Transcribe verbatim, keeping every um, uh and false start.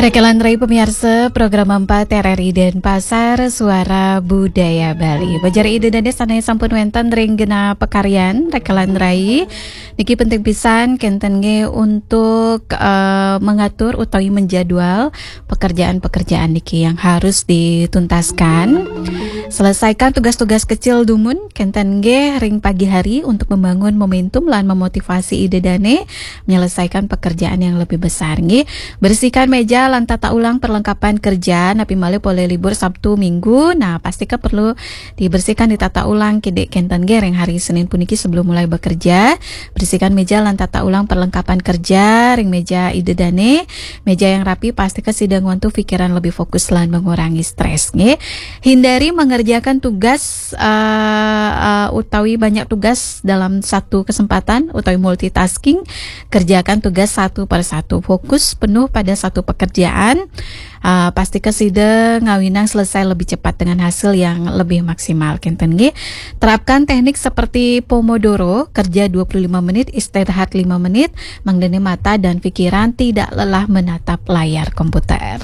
Rekelan rai pemiarsa program empat R R I Denpasar, Suara Budaya Bali. Bajar Ida Dane sane sampun wenten ring genah pakaryan rekelan rai. Niki penting pisan kenten nggih untuk, eh, mengatur utawi menjadwal pekerjaan-pekerjaan niki yang harus dituntaskan. Selesaikan tugas-tugas kecil dumun kenten nggih ring pagi hari untuk membangun momentum lan memotivasi Ida Dane menyelesaikan pekerjaan yang lebih besar nggih. Bersihkan meja lan tata ulang perlengkapan kerja, napi malih polih libur Sabtu Minggu. Nah, pastika perlu dibersihkan, ditata ulang kidik kenten nggih ring hari Senin puniki sebelum mulai bekerja. Bersihkan meja lan tata ulang perlengkapan kerja ring meja Ida Dane. Meja yang rapi pastika sida ngwantu pikiran lebih fokus lan mengurangi stres nggih. Hindari mengerjakan tugas, eh, eh, utawi banyak tugas dalam satu kesempatan utawi multitasking. Kerjakan tugas satu per satu. Fokus penuh pada satu pekerjaan. Ah, pastika sida ngawinang selesai lebih cepat dengan hasil yang lebih maksimal kenten nggih. Terapkan teknik seperti Pomodoro, kerja dua puluh lima menit, istirahat lima menit, mangdane mata dan pikiran tidak lelah menatap layar komputer.